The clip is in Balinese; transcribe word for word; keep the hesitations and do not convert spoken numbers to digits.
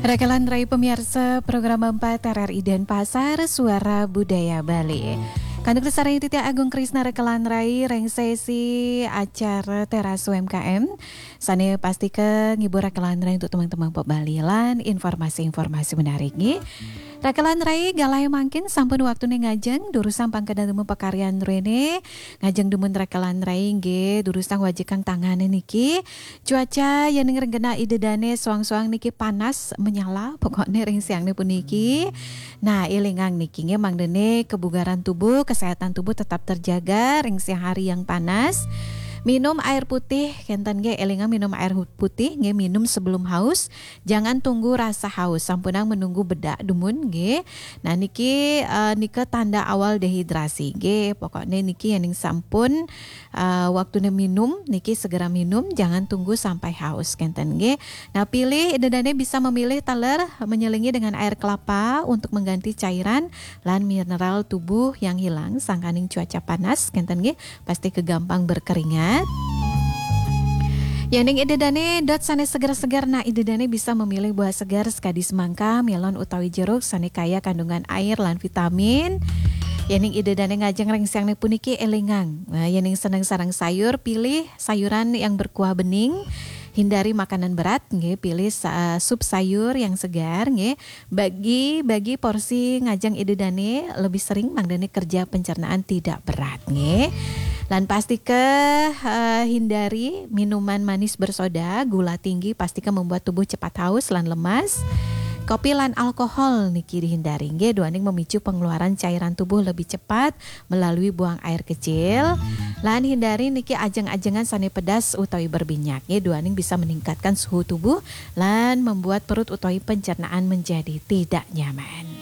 Rekelan Rai pemiarsa program empat R R I Denpasar, Suara Budaya Bali. Kanduk sareng Titi Agung Krisna rekelan Rai ring sesi acara Teras U M K M. Sane pastika ngibur rekelan Rai untuk teman-teman pop Bali lan informasi-informasi menarik nggih. Rekelan Rai galah mangkin sampun waktune ngajeng, durusang pangkada dumun pakaryan rene, ngajeng dumun rekelan Rai nggih, durusang wajikang tangane niki. Cuaca yening ring genah Ida Dane soang-soang niki panas menyala, pokokne ring siangne puniki. Nah, elingang niki nggih, mangdane kebugaran tubuh, kesehatan tubuh tetap terjaga ring siang hari yang panas. Minum air putih, kenten nggih, elingang minum air hu-, putih nggih, minum sebelum haus. Jangan tunggu rasa haus, sampunang menunggu bedak dumun nggih. Nah, niki, eh, nika tanda awal dehidrasi nggih. Pokokne niki yening sampun, eh, waktune minum, niki segera minum, jangan tunggu sampai haus, kenten nggih. Nah, pilih, Ida Dane bisa memilih taler menyelingi dengan air kelapa untuk mengganti cairan lan mineral tubuh yang hilang sangkaning cuaca panas, kenten nggih, pasti kegampang berkeringat. Yening Ida Dane dot sane seger-seger, nah, Ida Dane bisa memilih buah segar sekadi semangka, melon utawi jeruk sane kaya kandungan air lan vitamin. Yening Ida Dane ngajeng ring siangne puniki elingang. Nah, yening seneng sareng sayur, pilih sayuran yang berkuah bening. Hindari makanan berat, nggih, pilih sa-, sup sayur yang segar, nggih. Bagi, bagi porsi ngajeng Ida Dane lebih sering, mangdane kerja pencernaan tidak berat, nggih. Lan pastika, eh, hindari minuman manis bersoda, gula tinggi, pastika membuat tubuh cepat haus lan lemas. Kopi lan alkohol niki dihindari, nggih, duaning memicu pengeluaran cairan tubuh lebih cepat melalui buang air kecil. Lan hindari niki ajeng-ajengan sane pedas utawi berminyak, nggih, duaning bisa meningkatkan suhu tubuh lan membuat perut utawi pencernaan menjadi tidak nyaman.